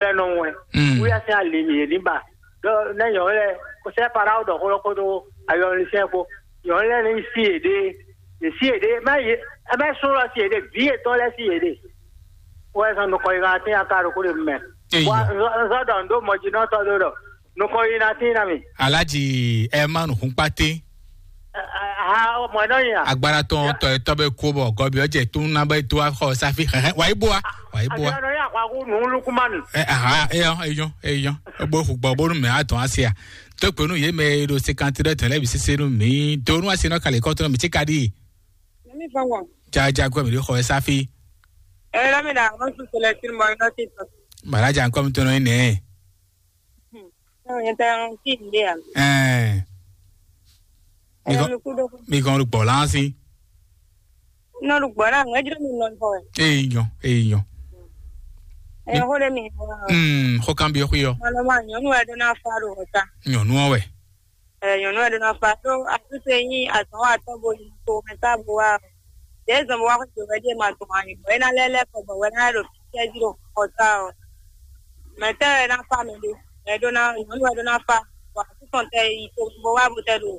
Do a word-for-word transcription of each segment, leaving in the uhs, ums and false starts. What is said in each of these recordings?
lɛ́ɛ nɔ wɛn. Mm. Wíyá sín ali mǐ yě ní ba. Ɖɔ nɛ́ nyɔ̌nu lɛ́ɛ kó sɛ́ Farao ɖɔ xó lɔ kpódó ayɔlisɛ́n kpó. Nyɔ̌nu lɛ́ɛ ní sí yěɖée. Yě sí yěɖée. Mɛ yě mɛ sún lɔ sí yěɖée. Vǐ yětɔn lɛ́ɛ sí yěɖée. Wɛ zɔn nukɔn yi kan tín aka ɖokó ɖe mɛ. Eyi. Wa zɔ ɖɔ ndo mɔjínɔtɔ ɖó ɖɔ nukɔn yi na tín na mi. Alhaji Herman Hunkpate. Ha mɔ nɔ nya. Agbára tɔn tɔ etɔ bɛ ko bɔ gɔbi ɔjɛ tún na bɛ to axɔ safi xɛxɛ wa ibo wa wa ibo wa. Àti ọ̀nà yà kó akú nù lukumanu. Ɛ aha eyɔ eyɔ eyɔ ebo hugbɔ bonu mɛ atɔn asia. Tó pé nú yé mɛ e ɖo sékanti ɖe tɛn lɛ bi sese nú mi do nú asi nɔ kali kɔtɔ mi tsi ka di. Nami fangwa. Jaja gbɔ mi ɖe xɔ ɛ safi. Ɛ lami na ɔn su sɛlɛ tiri mɔ ɔn ti tɔ. Mara ja nkɔ mi tɔnɔ yi nɛ. Ɔn yɛn tɛ ɔn ti mi de ya. Ɛɛ. Ɛ mi ku do. Mi kɔn ɖo gbɔ lan si. Nɔ ɖo gbɔ lan ŋɛ jira mi nɔ xɔ ɛ. Eyi nyɔ eyi nyɔ. Ɛ xɔ de mi. Mm, xɔ kan bi xɔ yɔ. Malɔ ma nyɔnu ɛ do na fa ɖo xɔ ta. Nyɔnu ɔ wɛ. Ɛ nyɔnu ɛ ɖo na fa ɖó atúnṣe nyí azɔ̌nwatɔ́ bo yi to mɛ sá bo wá ɔ. Yě zɔn bo wá xwé jǒ wɛ ɖíe ma tunwun anyǔ bɔ é ná lɛ́ lɛ́ kɔ bɔ wɛ ná ɖo fífíɛ́ jí ɖo xɔ sá ɔ. Mɛ tɛ́ wɛ ná fa mɛ ɖé? Mɛ ɖó ná nyɔnu wɛ ɖó ná fa. Bɔ atúntɔn tɛ yi to bo wá bo tɛ ɖo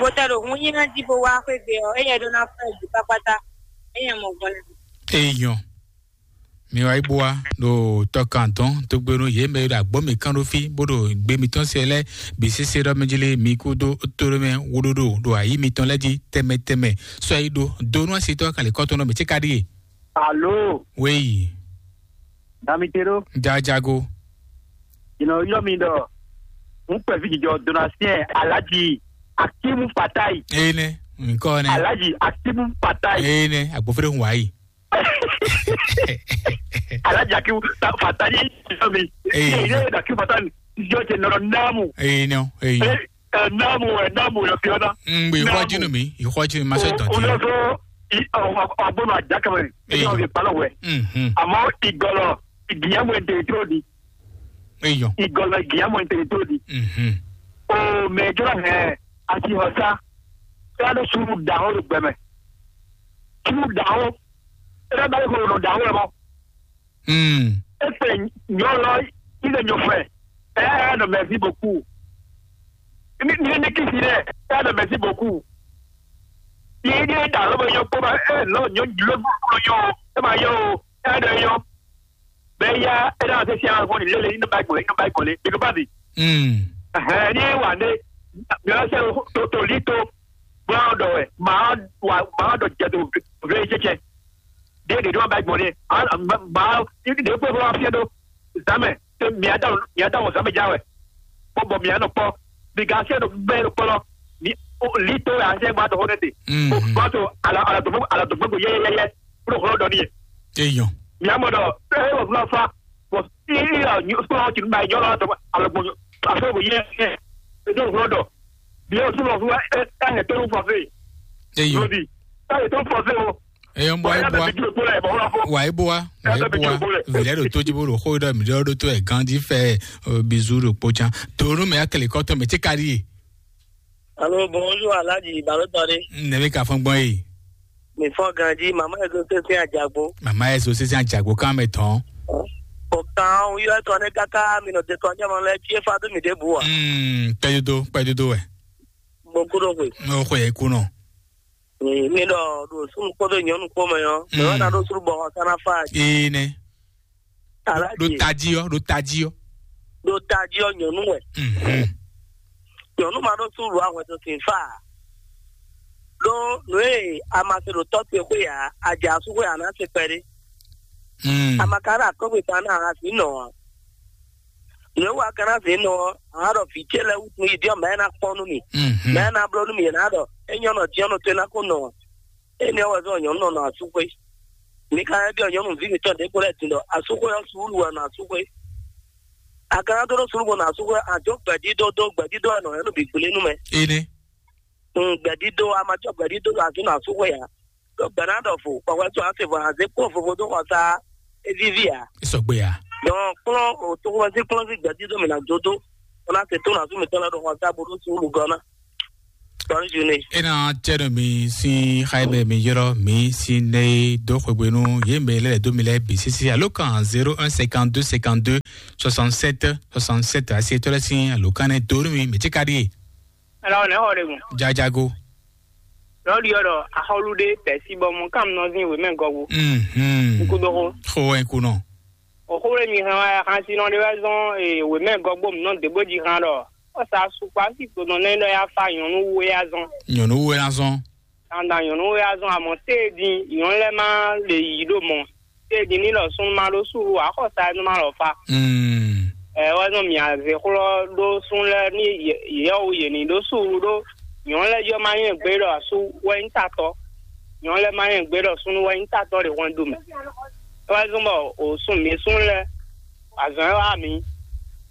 bo tɛ ɖo hun nyí ná jí bo wá xwé gbe ɔ, éyɛ ɖó ná fa ɛ jí kpákpátá. Éyɛ mɔ gbɔn lɛ. Eyɔn. Mi wá yi bó wá ɖo tɔkantɔn tógbénu yě mɛ e ɖo agbɔ́ mǐ kán ɖó fí bó ɖo gbe mitɔn se lɛ́ɛ bǐ sésé ɖɔ mɛ jí lé mi kúdó tóɖó mɛ wóɖóɖó ɖo ayǐ mitɔn lɛ́ɛ jí tɛmɛ tɛmɛ. Sɔ yi ɖo donu asitɔ kalikɔtɔn nɔ mɛ tí ka ɖíe. Alo, Wéyi, Damite ɖó. Jajago. Ìnà yɔ mi ɖɔ ń pẹ̀lú jìjọ Donatien Alhaji Akimu Fatai. Eye nɛ, nǹkan nɛ. Alhaji Akimu Fatai. Eye nɛ, agbófẹ́rẹ́ ń wá yìí. Alhaji Akimu Fatai yɔ mi. Ee. Ee, Akimu Fatai yɔ jẹ nɔnɔ namu. Ee, nɔ, ee. Ee, namu, ee, namu yɔ fi ɔna. Ngbe ìxɔjínú mi, ìxɔjínú mi ma ṣe dɔn ti. Olóso ọgbọnọ àjákàmẹ. Ee. Ìyá òye palọ wẹ. Mhm. Àmọ́ ìgọlọ ìgbìyànjú ẹ̀ ń tètè tó di. Eyɔ. Ìgọlọ ìgbìyànjú ẹ̀ ń tètè tó di. Mhm. O mɛ jọlọ hẹ àti ọsá. Ẹ lọ sùúrù dàhó ló gbẹmẹ. Sùúrù dàhó. Ẹ bá yẹ kó lọ dàhó ẹ mọ. Mm. Ese nyɔlɔ ile nyɔfɛ. Ɛ ɛ nɔ mɛsi boku. Ni ni ni kisi dɛ. Ɛ nɔ mɛsi boku. Yìí ní ìdá ló bẹ yọ kpó ma ɛ lọ nyɔ ló ló yọ o ɛ ma yọ o ɛ dɔ yọ. Bɛ ya ɛ dá se si àwọn fún ilé lé nínú báyìí kò lé nínú báyìí kò lé bí kò bá bì. Mm. Ẹhẹn ní wà ní mi ɔ sẹ tó tó lí tó bọ́n dọ̀ wẹ̀ máa wà máa dọ̀ jẹ tó vlé jẹjẹ. Dé dé dé wọn báyìí kò lé máa ní dé pé wọ́n fi ẹ́ tó zame te mia da mia da wɔ zame ja wɛ. Bɔbɔ mia nɔ kpɔ. Bi ga se do bɛ do kpɔlɔ. Ni o li to ya se ba to hone te. Mm. O ba to ala ala to ala to gbogbo ye ye ye. Pro holo dɔ ni ye. Eyɔn. Mia mɔ dɔ e wo fla fa. Bɔ i i ya nyu so ti ba yɔ la to ala gbogbo. A so go ye ye. E do holo dɔ. Bi o so lo fla e ta ne to fɔ fe. Eyɔn. Lodi. Ta ne to fɔ fe o. Eyɔn bɔ e bua. Wa e bua. Wa e bua. Vilɛ ɖo to dzi bo ɖo xó ɖɔ mi ɖɔ ɖo to ɛ ganji fɛ bizu ɖo kpo can. Tonu mɛ akele kɔtɔ mɛ tí ka ɖi ye. Alo, bonjour, Alhaji Balotɔ ɖe. Ne bɛ ka fɔn gbɔn ye. Mi fɔn ganji, mama yɛ so sese ajagbo. Mama yɛ so sese ajagbo kan mɛ tɔn. O kan o yɔ tɔ ne kaka mi nɔ de tɔ nyɛ mɔ lɛ fie fa do mi de bu wa. Mm, kpɛdodo, kpɛdodo wɛ. Mo kudo koe. Mo xɔ yɛ kunɔ. Mi ɖɔ ɖo sunu kpɔdɔ nyɔnu kpɔ mɛ yɔ. Mɛ wana ɖo sunu bɔ xɔ sana fa. Ee nɛ. Ɖo taji ɔ, ɖo taji ɔ. Ɖo taji ɔ nyɔnu wɛ. Mhm. Nyɔnu ma ɖo sunu ɖo ahwɛ to sin fa. Ɖo nue amase ɖo tɔ te xwe ya, aja su xwe ana se kpɛɖe. Mm. Amaka ɖo akɔgbe ta na asi nɔ. Nǔ e wa ka ná zě nɔ ɔ́, a nǎ ɖɔ vǐ ce lɛ́ɛ wútu yi ɖɔ mɛ̌ ná kpɔ́n nú mì. Mhm. Mɛ̌ ná bló nú mì, è nǎ ɖɔ é nyɔ́ nɔ jɛ́n nɔ tó é ná ko nɔ ǎ. Énɛ́ ɔ́ wɛ zɔ́n nyɔ̌nu nɔ nɔ asúxwé. Mi ka lɛ́ byɔ́ nyɔ̌nuví mǐtɔn ɖěvo lɛ́ɛ din ɖɔ asúxwé ɔ́, suúlu wɛ nɔ asúxwé. A ka ná dó ɖó suúlu bó nɔ asúxwé, a dǒ gbɛ̌dídó dó gbɛ̌dídó wɛ nɔ hɛn nú bǐ gblé nú mɛ. Énɛ́. Un gbɛ̌dídó, a ma cɔ́ gbɛ̌dídó ɖo azǐn nɔ asúxwé ǎ. Ɖó gbɛ̌ ná ɖɔ vo, kpɔ̌kpɛ́ tɔn ná se vo, a nǎ zé kplɔ́n vovo dó xɔsá é víví ǎ. É sɔgbe ǎ. Dɔn kplɔ́n o toxoxɔsí kplɔ́n sín gbɛ̌dídó mǐ ná dó dó, bó ná se tó ná sú mǐtɔn lɛ́ɛ ɖo xɔsá bó ɖó suúlu gɔ́ ná. Bonne journée. E na tɛ nɔ mi sin xayi mɛ mi yɔrɔ mi sin ne do xwegbe nu ye mɛ lɛ do mi lɛ bi sisi alo kan zéro un cinquante-deux cinquante-deux soixante-sept soixante-sept asi tɔlɛ sin alo kan ne do mi mi ti ka di ye. Ala ne xɔ de gun. Jajago. Lɔ di yɔ dɔ axɔlu de pɛsi bɔ mu kam nɔ zin we mɛ gɔgu. Mhm. Nkudo xo. Xo wɛ nkunɔ. Oxó ɖé mi hɛn wá xasinɔ ɖé wɛ zɔn wěmɛ gɔgbó mǐ nɔ dě bó jí hán ɖɔ ɔ́ sa sukpá sí to nɔ nɛ́ ɖɔ yá fá nyɔ̌nu wé azɔn. Nyɔ̌nu wé azɔn. Dandan nyɔ̌nu wé azɔn amɔ̌ téé din nyɔ̌nu lɛ́ɛ má lè yǐ ɖo mɔ̌. Téé din ní ɖɔ súnnu má ɖó súlu ǎ xɔ sa nú má lɔ fá. Mm. Ɛ wɛ zɔn mǐ azě xlɔ́ ɖó súnnu lɛ́ɛ ní yɛ̌ wú yě ní ɖó súlu ɖó nyɔ̌nu lɛ́ɛ jɔ má nyɔ́ gbé ɖɔ asú wɛ nyí tatɔ́. Nyɔ̌nu lɛ́ɛ má nyɔ́ gbé ɖɔ súnnu wɛ nyí tatɔ́ ɖe hwɛndo mɛ. É wɛ zɔ́n bɔ o sun mǐ sun lɛ́ɛ, azɔ̌ e wá mǐ,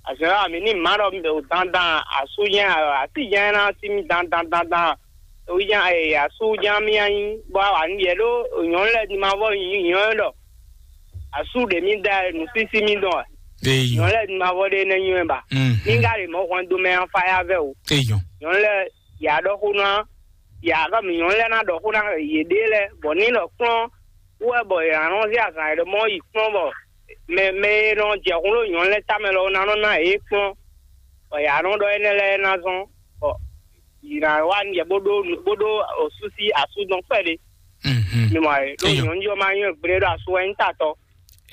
azɔ̌ e wá mǐ ní mǎ ɖɔ mi ɖo dandan asú jɛ́n así jɛ́n ná sí mì dandan dandan. Oyi jɛ́n asú jɛ́n mì anyí bɔ a wà ní yɛ ɖó nyɔ̌nu lɛ́ɛ ní ma vɔ nyɔ̌nu ɖɔ asú ɖě mì da nǔsísí mì dɔn wɛ. Eyɔ. Nyɔ̌nu lɛ́ɛ ní ma vɔ ɖé nɛ́ nyɔ́ ba. Mhm. Ní ká lè mɔ hwɛndo mɛ afáyá vɛ o. Eyɔ. Nyɔ̌nu lɛ́ɛ yǎ ɖɔ xó ná yǎ ɖɔ mǐ nyɔ̌nu lɛ́ɛ ná ɖɔ xó ná yěɖée lɛ́ɛ bɔ ní ɖɔ kplɔ́n wú wɛ bɔ è nǎ nɔ zé azǎn e ɖɔ mɔ yi kplɔ́n bɔ mɛ mɛ e nɔ jɛ hun ɖó nyɔ̌nu lɛ́ɛ tamɛ lɔ ná nɔ ná yě kplɔ́n bɔ yě nɔ ɖɔ énɛ́ lɛ́ɛ ná zɔ́n bɔ yě ná wá nǔ jɛ bó ɖó bó ɖó osúsí asúdɔn kpɛɖé. Mhm. Mi mɔ ayé ɖó Eyɔ. Nyɔ̌nu jɔ ma nyɔ́ gblé ɖo asu wɛ nyí tatɔ.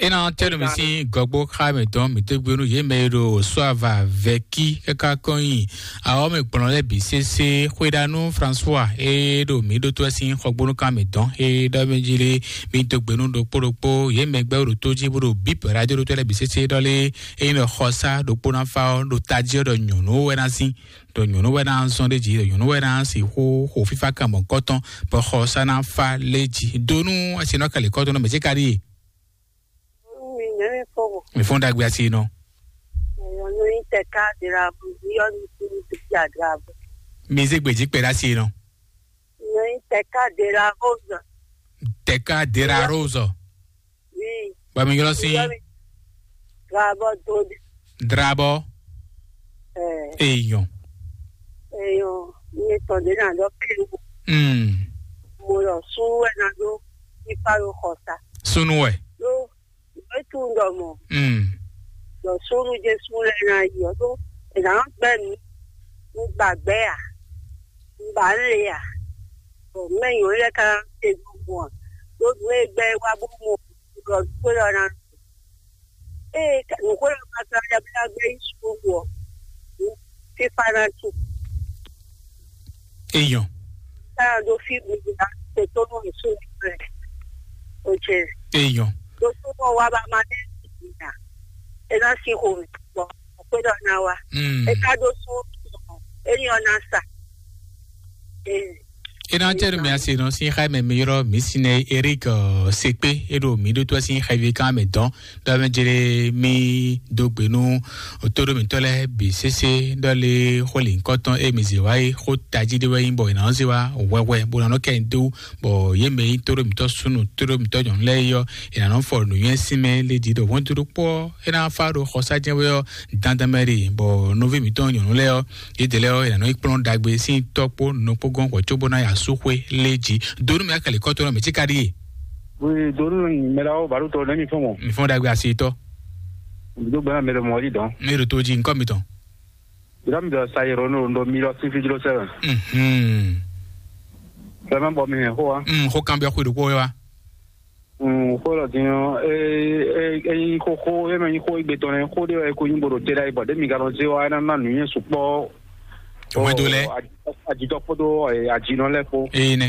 E na tɛ nɔ mi sín gɔgbó xá mɛ tɔn mi tɛgbɛnu yě mɛ e ɖo sɔava vɛki kaka kɔnyi awɔ mɛ gblɔn lɛ bi sese xwedanu François e ɖo mi ɖo tó sín xɔgbónu kan mɛ tɔn e ɖɔ mɛ jí lé mi dó gbenu ɖokpó ɖokpó yě mɛ gbɛ ɖo tó jí bó ɖo bip radio ɖo tó lɛ bi sese ɖɔ lé e nyí ɖɔ xɔsa ɖokpó na fa ɔ ɖo tají ɔ ɖɔ nyɔnu wɛ na sín ɖɔ nyɔnu wɛ na zɔn ɖe jí ɖɔ nyɔnu wɛ na si xó xó fífá kan mɔ kɔtɔn bɔ xɔsa na fa lé jí donu asi nɔ kɛlɛ kɔtɔn nɔ mɛ jí ka ɖi. Mi nɛmi fɔwɔ. Mi fɔn dagbe asi nɔ. Yɔnu yi tɛka dira bu yɔnu ti mi ti adira bu. Mi ze gbeji kpɛ ɖe asi nɔ. Yɔnu yi tɛka dira bu zɔ. Tɛka dira rozo. Oui. Ba mi yɔrɔ si. Drabɔ do de. Drabɔ. Ɛ. Eyɔn. Eyɔn. Ye tɔn de na dɔ kiri. Hmm. Mo lɔ sun wɛ na do. Ipa yo xɔsa. Sunu wɛ. Yo. Etu ŋdɔ mɔ. Mm. Ɖɔ súnnu Jesu lɛ́ɛ ná yi ɔ́ ɖó è nǎ gbɛ́ nǔ un gba gbɛ̌ a? Un ba nǔ le a? Bɔ mɛ nyɔ̌nu lɛ́ɛ ka te gbɔn a? Ɖó nǔ e gbɛ́ wá bó mɔ ɖɔ nǔxwé ɔ́ ná. Ée nǔxwé ɔ́ ka sɔ́ ɖɔ bó ná gbɛ́ yí suɖuɖu ɔ́, fífá ná cu. Eyɔn. Káyọ̀ ɖo fí mi ná tètò nù ìsú rẹ̀. Òjè. Eyɔn. Ɖo tó mọ̀ wá bá máa ní ìgbìyà. Ẹ ná sí ihò mi pọ̀. Ọ̀pẹ́ dọ̀ ná wa. Mm. Ẹ ká ɖó sún. Ẹ ní ọ̀nà sà. Ee. E na tɛ mi ase nɔ si xa mɛ mi yɔrɔ mi si nɛ Eric ɔ, Sekpe e ɖo mi ɖo to si xa vi kan mɛ dɔn dɔ mɛ jere mi do gbe nu todo mi tɔ lɛ bi sese dɔ le xo li nkɔtɔn e mi zi wa yi xo taji de wɛ yi bɔ ina zi wa wɛwɛ bo na nɔ kɛ do bɔ ye mɛ yi todo mi tɔ sunu todo mi tɔ nyɔnu lɛ yɔ ina nɔ fɔ nu yɛ si mɛ le di do wɔn todo kpɔ e na fa do xɔsa jɛ wɛ yɔ dandan mɛ de bɔ novi mi tɔ nyɔnu lɛ yɔ Yědɛlɛ ɔ́, è nǎ nɔ yi kplɔ́n ɖagbe sín tɔ́ kpó nɔ kpó gɔ́n hwɛ̌ cóbó ná yi asúxwé lé jí. Donu mɛ akɛlɛ kɔ́tɔ́ nɔ mɛ tíká ɖíe. Oui, donu mɛ la wo baɖu tɔ nɛmi fɔn mɔ. Mi fɔn ɖagbe asi tɔ. Mi do gbɛna mɛ ɖe mɔ yi dɔn. Mi ɖo to jí nkɔ mi tɔn. Jira mi dɔ sa yɛrɛ no ndo mi lɔ sin fi jlo sɛbɛn. Mhm. Fɛmɛ bɔ mi hɛn xo wa. Mm, xo kan bɛ xwe ɖo kpó wa. Mm, xó lɔ din ɔ́, é é é nyí xóxó, é mɛ nyí xó égbé tɔn nɛ́, xó ɖé wɛ é ko nyí bó ɖo te ɖ'ayǐ bɔ ɖě mi ka nɔ zé wá é ná ná nǔnywɛ́ sukpɔ́. Wɛn do lɛ. Ajitɔ kpódó ajinɔ lɛ́ɛ kpó. Eye nɛ.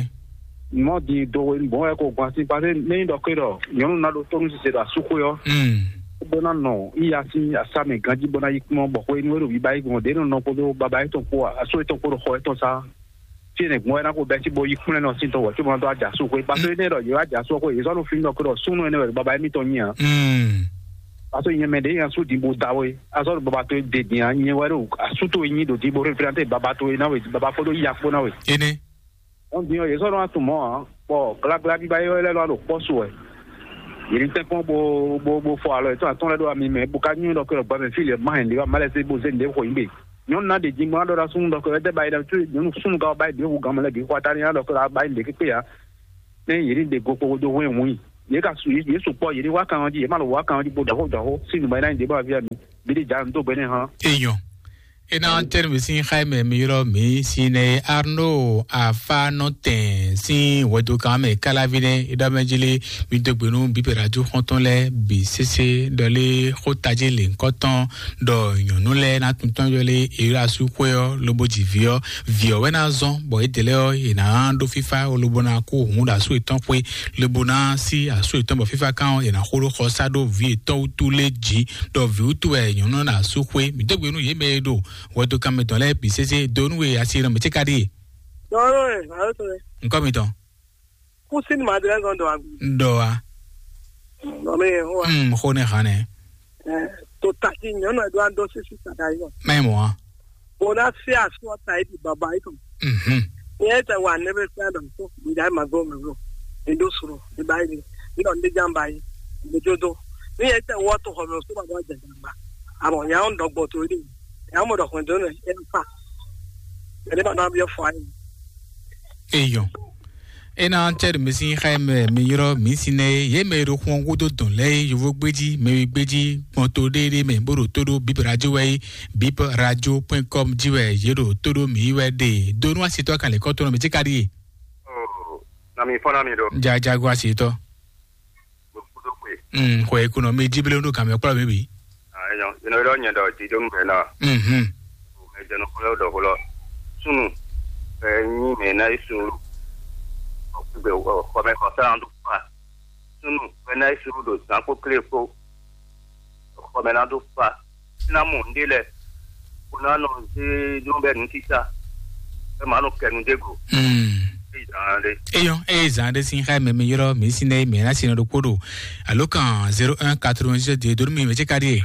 Mɔ din do hwenu bɔn wɛ ko gbɔn asi paseke mɛ nyí ɖɔ ké ɖɔ nyɔ̌nu ná ɖo tónú sise ɖo asúxwé ɔ́. Mm. Bó ná nɔ yíya sín asá mɛ ganjí bó ná yí kpɔ́n bɔ xwenu é ɖo bíbá yí gbɔn ɖě nɔ nɔ kpódó baba yětɔn kpó asó yětɔn kpó ɖo xɔ yětɔn sá. Tí è nɛ gbɔn wɛ ná ko bɛ́ sí bó yí kplɛ́n nɔ sín tɔn wɛ tí mo ná dó ajasu xwé. Pase énɛ́ ɖɔ yě wá ajasu xwé, yě zɔ́ nɔ fí nɔ kó ɖɔ súnnu énɛ́ wɛ baba émítɔn nyí ǎ. Mm. Pase nyɛ mɛ ɖě nyi asú din bo da wé. Azɔ́ ɖo baba towe de din ǎ, nyɛ wɛ ɖo asú towe nyí ɖo din bo représenter baba towe ná we, baba kpódó yí akpó ná we. Énɛ́. Wọ́n din ɔ́, yě zɔ́ nɔ wá tunwun mɔ̌ ǎ, bɔ glaglá bíbá é wɛ lɛ́ nɔ wá ɖo kpɔ́ su wɛ. Yě ní tɛ́nkpɔ́n bo bo bo fɔ alɔ yětɔn atɔ́ɔ́n lɛ́ɛ ɖó ami mɛ, bo ka nywɛ́ ɖɔ kó ɖɔ gbɛmɛ fí lě má hɛn lě wá má lɛ́ zé bo zé nǔɖé xo nyí gbe. Nyɔnu ná ɖe jingban ɖɔ ɖa súnnu ɖɔ kɔ ɛdɛ ba yi ɖa tu nyɔnu súnnu ka ba yi ɖe hu gamɛ lɛ bi xɔ atani ɖɔ kɔ ba yi ɖe kpekpe ya. Ne yě ní ɖe go kpokpo dó hwɛn wun yi. Yě ka su yě sukpɔ yě ní wá kan ɔ́ jí yě má lɔ wá kan ɔ́ jí bo ɖɔ xó ɖɔ xó sín nǔgbɛ ná nyi ɖě bɔ aví mi. Bí ɖi ja nu dó gbɛ nɛ́ hán. Eyɔn. Ena tɛnumisi xaimɛ mi ylɔ mi si ne Arno afa nɔ tɛn sin wɛdokan mɛ kalavi ne idɔmɛjili mi dogbe nu biberajo xɔntɔn lɛ bi sese dɔle xota ji le nkɔtɔn dɔ nyɔnu lɛ na tuntɔn yɔle ela su xwe ɔ lobo ji vi ɔ vi ɔ wɛ na zɔn bɔ edele ɔ e na ɖo fifa lobo na ko hun ɖo asu etɔn xwe lobo na si asu etɔn bɔ fifa kan ɔ e na xo ɖo xɔ sa ɖo vi etɔn wutu le ji ɖɔ vǐwútu wɛ nyɔ̌nu ná sú xwé. Mǐ dó gbe nú yě mɛ e ɖo hwɛdokan mǐtɔn lɛ́ɛ bǐ sésé dó nú we asi e nɔ mǐ ce ka ɖíe. Dɔwɔɖɔ rɛ, màá tó rɛ. Ŋkɔ mitɔn. Kú sí ni màá dé lɛ́ zɔn dɔ àgbè. Dɔ wa. Nɔ mi yẹn hó wa. Mm, xó ne hàn nɛ. Ɛ, tó tati nyɔnu ɛ do an dó sísí sàdá yìí nɔ. Mɛ mɔ wa. Bona se asu ɔta yi di baba yi tɔn. Mhm. Ni yɛ tɛ wa ne bɛ fɛn dɔ so mi da ma go mi go. Mi do suro mi ba yi mi. Mi dɔ ne jamba yi. Mi do do. Ni yɛ tɛ wɔ to xɔ mi so ma dɔ jɛ jamba. Amo ya on dɔ gbɔ to yi. Ya mo dɔ xɔn do ne e fa. Ele ba na bi fɔ ayi. Eyɔn. Ena tɛ ɖo misi xɛ mɛ mi yrɔ mi si nɛ ye mɛ ɖo xɔn gúdo dɔn lɛ ye yovo gbéji mɛ wi gbéji kpɔn to ɖéɖé mɛ bó ɖo tó ɖó bib radio wɛ ye bib radio point com ji wɛ ye ɖo tó ɖó mi wɛ ɖe do nú asitɔ kan lè kɔ tó nɔ mi ti ka ɖi ye. Oh, na mi fɔ na mi ɖo. Jajago asitɔ. Mo kudo kwe. Mm, xɔ ekunɔ mi ji blo ɖo kan mɛ kplɔ mi bi. Ah, enyo, ino ɖɔ nyɛ ɖɔ ti ɖo ŋgbɛ na. Mhm. Mɛ jɛnu xlɔ ɖɔ xlɔ. Sunu. Ɛ nyi mɛ na isu. Ɔkugbe xɔmɛ xɔsa na ɖo fa. Sunu. Mɛ na isu ɖo zan kpó klé kpó. Xɔmɛ na ɖo fa. Sina mɔ ŋɖe lɛ. Kó ná nɔ zé ɖó bɛ nu títà. Ɛ má nɔ kɛ nu dé go. Mm. Eyi zan ɖe. Eyɔn, eye zan ɖe sin xɛ mɛ mi yrɔ mi sin ne mi na sin ɖo kpó ɖo. Alo kan zéro un quatre-vingt-dix-sept de donu mi mɛ ce ka ɖi ye.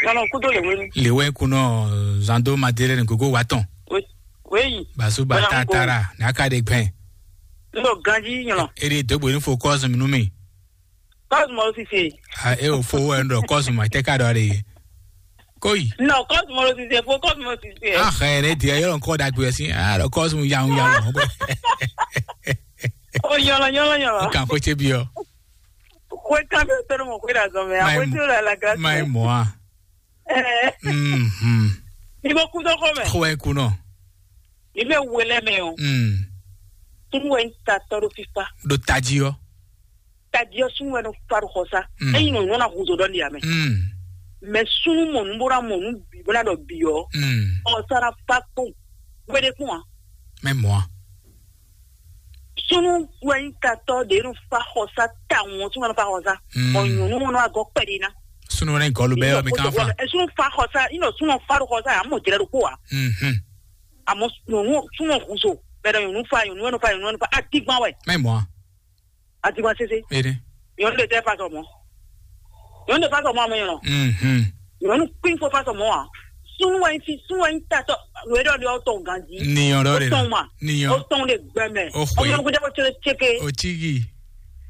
Nana kudo le wenu. Le wɛ kunɔ zando madele ni gogo wa tɔn. We, weyi. Basu ba Bana tatara na ka de gbɛn. Ndo ganji nyɔnɔ. E de dogbo ni fo kɔs mi nu mi. Kɔs mɔ sise. A e o fo wɛ ndo kɔs ma te ka dɔ de. Koi. No, kɔs mɔ sise fo kɔs mɔ sise. A xɛ ne dia yɔrɔ nkɔ da gbe si. A do kɔs mu yawu yawu. O nyɔlɔ nyɔlɔ nyɔlɔ. Kan ko ce bi o. Ko kan bi to mo ko da zo me. A ko to la la grâce. Mai moa. Eh. Mhm. Ni mo ku do ko me. Ko e ku no. Ni me wele me o. Mm. Tun we ta to do fifa. Do taji o. Taji o sun we no faru xosa. Mm. Eyi no no na huzo do ni ame. Mm. Me sunu mo nu bora mo nu bi bora do bi o. Mm. O sara fa ko. Wede kuma. Mɛ mɔa. Sunu wɛnyi tatɔ de nu fa xɔsa ta ŋɔ sunu wɛnyi fa xɔsa. Mm. Ɔ nyɔnu mɔnɔ agɔ kpɛdi na. Sunu wɛnyi gɔlu bɛ yɔ mi kan fa. Ɛ sunu fa xɔsa, inɔ sunu fa do xɔsa, amɔ jɛrɛ do ko wa. Mhm. Amɔ nyɔnu sunu huzo, bɛ dɔ nyɔnu fa, nyɔnu wɛnyi fa, nyɔnu wɛnyi fa, adigban wɛ. Mɛ mɔa. Adigban sese. Ede. Nyɔnu de tɛ fa sɔmɔ. Nyɔnu de fa sɔmɔ amɛ nyɔnu. Mhm. Nyɔnu kpin fo fa sɔmɔ wa. Sunu wɛnyi fi, sunu wɛnyi tatɔ. Wɛ dɔ de o tɔn ganji. Niyɔn dɔ de. O tɔn ma. Niyɔn. O tɔn de gbɛmɛ. O xwe. Ɔmɔ kuta o tse tse ke. O tigi.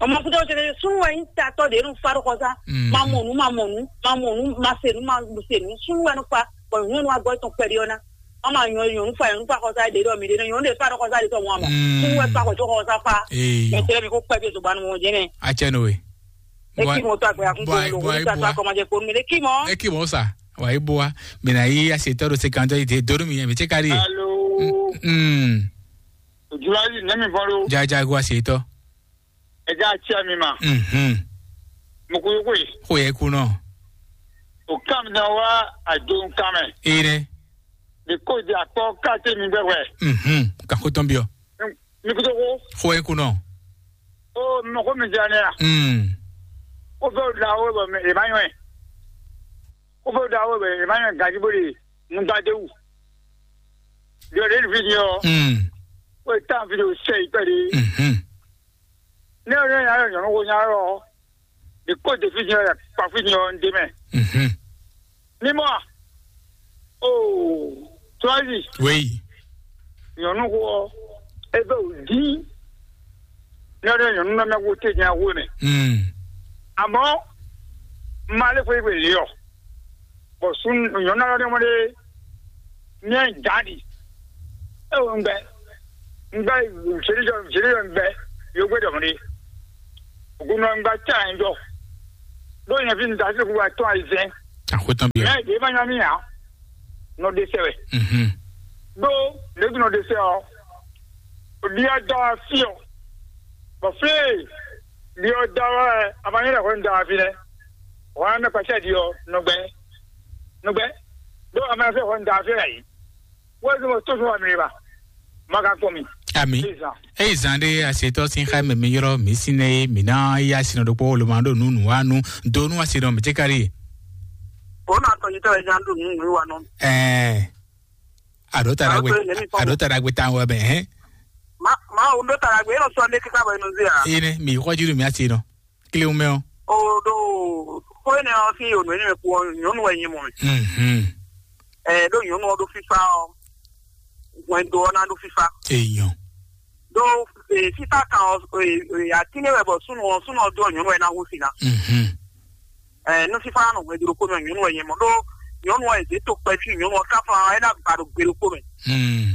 Ɔmɔ kuta o tse ke. Sunu wɛnyi tatɔ de nu fa do kɔsa. Mhm. Ma mɔnu, ma mɔnu, ma mɔnu, ma senu, ma senu. Sunu wɛnyi fa. Bɔn nyɔnu wa gbɔ tɔn kpɛdi ɔna. Ama nyɔ nyɔnu fa nyɔnu fa xɔsa de dɔ mi de nyɔnu de fa do kɔsa de tɔ mɔ ama. Mm. Sunu wɛ fa kɔ to xɔsa fa. Ee. Mɛ tɛlɛ mi ko kpɛ bi to banu mɔ jɛnɛ. A cɛ no we. E ki mɔ to agbe akun ko lo ko ta to akɔmajɛ ko mi de ki mɔ. E ki mɔ sa. Wa e bo wa. Mina yi a se tɔ do se kan tɔ yi de do mi mi ce ka di. Alo. Mm. Julali ne mi fɔ lo. Ja ja go a se tɔ. Ɛ ja cɛ mi ma. Mhm. Mo ko yo ko yi. Ko ye ku nɔ. O kam na wa a jo kam mɛ. Ere. De ko de akpɔ kate mi gbɛgbɛ. Mhm. Ka ko tɔn biɔ. Mi kudo ko. Ko ye ku nɔ. O mɔ ko mi jɛ ne ya. Mm. Ko fɛ o da o bɔ mi e ma nyɔ ye. Ko fɛ o da o bɔ e ma nyɔ gaji bo de mu da de wu. Yɔ de fi ni o. Mm. O tan fi de o sɛ yi pɛ de. Mhm. Ne o ne ya yɔ nyɔnu ko nya yɔ. De ko de fi ni o ya kpa fi ni o n de mɛ. Mhm. Ni mɔ. O. Tɔzi. Oui. Nyɔnu ko e bɛ o di. Ne o ne nyɔnu na mɛ wo te nya wo mɛ. Mm. Amɔ. Ma le fo iwe le yɔ. Bɔ sun nyɔnu alɔ ne mo de. Nyɛ Dani. Ewo ŋgbɛ. Ŋgbɛ Jerusalem Jerusalem ŋgbɛ. Yogbe dɔn ɖe. Ogunɔ ŋgbɛ tsa ŋjɔ. Ɖo nyɛ fi da se ku wa tɔn ayi zɛn. Akwetɔn bi. Mɛ de ma nya mi ya. Nɔ de sɛ wɛ. Mhm. Do de nɔ de sɛ ɔ. O di ɔ da wa fi ɔ. Bɔ fi di ɔ da wa ɛ a ma nyɛ lɛ hɔ n da wa fi lɛ. Hɔ an mɛ kpasɛ di ɔ nɔgbɛ. Nɔgbɛ. Do a ma fɛ hɔ n da wa fi lɛ yi. Wɛzɛmɔ tó fún wa mi ba. Maga kpɔn mi. Ami. Eyi zan ɖe asetɔ sin xa mɛ mi yɔrɔ mi sin ne mi na ya sin ɖokpɔ wolo ma ɖo nu nu wa nu do nu asi nɔ mi tse kari. O na tɔ yitɔ yɛ jan do nu nu wa nɔ. Ɛɛ. Aɖo ta ɖagbe. Aɖo ta ɖagbe tan wɛ mɛ hɛn. Ma ma o ɖo ta ɖagbe e nɔ sɔ ne kika bɔ e nɔ zi a. Ene mi xɔ jiru mi asi nɔ. Kiliwu mɛ o. O ɖo xɔ ene ɔ si o nɔ ene mɛ ku ɔ nyɔnu wɛ nyi mɔ mɛ. Mhm. Ɛ ɖo nyɔnu ɔ ɖo fifa ɔ hwɛndo ɔ na ɖo fifa. Eyɔn. Ɖo fifa kan ɔ atinɛ wɛ bɔ sunu ɔ sunu ɔ do nyɔnu wɛ na hu si na. Mhm. Ɛ nu fifa nɔ hwɛndo ɖokpó mɛ nyɔnu wɛ nyɛ mɔ ɖo nyɔnu ɔ eze to kpɛfi nyɔnu ɔ kafa ɔ ena gba ɖo gbe ɖokpó mɛ. Hmm.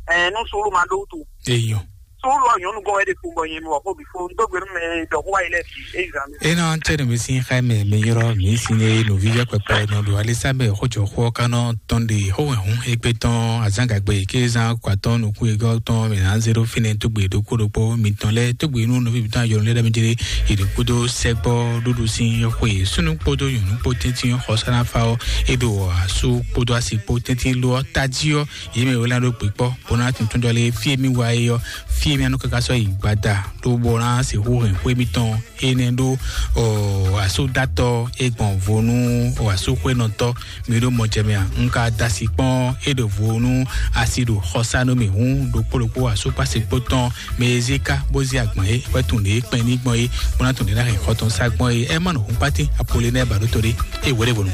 Ɛ nu sulu ma ɖo wutu. Eyɔn. Sulu ɔ nyɔnu gɔn wɛ ɖe fun bɔ nyɛ mɔ xo bi fo n do gbe nu mɛ dɔ xo wa yi lɛ fi e zan mi. Ena tse nu mi sin xa mɛ mi yɔrɔ mi sin ne nu vivɛ kpɛkpɛ nɔ ɖo alisa mɛ xo jɔ xo ka nɔ tɔn de xo wɛ hun egbe tɔn azangagbe ke zan kɔ atɔn nukun egɔ tɔn mi na zero fine togbe ɖokpó ɖokpó mi tɔn lɛ togbe nu nɔvi mi tɔn ayɔrɔ lɛ dami jere iri kudo sɛgbɔ ɖuɖu sin xwe sunu kpodo nyɔnu kpo tɛntin xɔsana fa ɔ eɖo asu kpodo asi kpo tɛntin lo ɔ taji ɔ yi mɛ wɛlɛ ɖo gbekpɔ bona tuntun dɔ le fie mi wa ye ɔ fie mi anu kaka sɔ yi gbada ɖo bona se hu hɛn xwe mi tɔn ene ɖo ɔ asu datɔ e gbɔn vo nu ɔ asu xwe nɔtɔ mi ɖo mɔ jɛ mɛ a un ka da asi kpɔn e ɖo vo nu asi ɖo xɔsanu mi hu ɖokpó ɖokpó asu kpasi kpo tɔn mɛ e zika bó zi agban e wɛ tun ɖe kpɛn ní gbɔn e bona tun ɖe na hɛn xɔtɔn sa gbɔn e ɛ ma nɔ hun kpati apole nɛ ba ɖo to ɖe e wɛ ɖe vo nu.